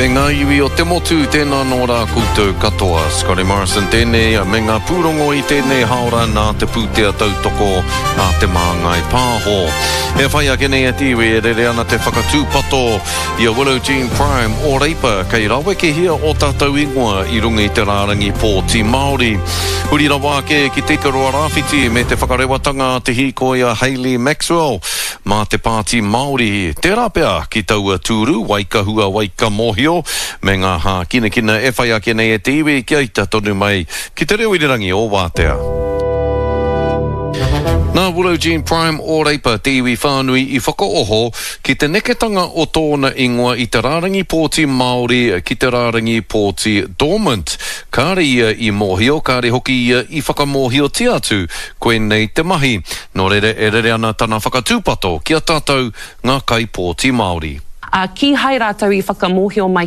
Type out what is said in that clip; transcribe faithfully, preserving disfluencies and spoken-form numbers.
Kei ngā iwi o te motu, tēnā nō rā koutou katoa. Scotty Morrison tēnei me ngā pūrongo i tēnei haora nā te pūtea tautoko a Te Māngai Pāho. E whai ake nei e te iwi e rere ana te whakatūpato i a Willow Jean Prime o Reipa kei rawekehia o tātou ingoa i runga i te rārangi pōti Māori. Huri rawa ake ki Te Ikaroa Rāwhiti me te whakarewatanga a te hīkoi a Hayley Maxwell mā te Pāti Māori. Tērā pea ki taua tūru, waikahua, waikamōhio, me ngā hākinakina e whai ake nei e te iwi kia ita tonu mai ki te reo irirangi o Wātea. Nā Willow Jean Prime o Reipa te iwi whānui i whakaoho ki te neketanga o tōna ingoa i te rārangi pōti Māori ki te rārangi pōti dormant. Kāre ia i mōhio, kāre hoki ia i whakamōhiotia atu koinei te mahi. Nō reira e rere ana tana whakatūpato ki a tātou ngā kaipōti Māori. Ā, kīhai rātou i whakamōhio mai.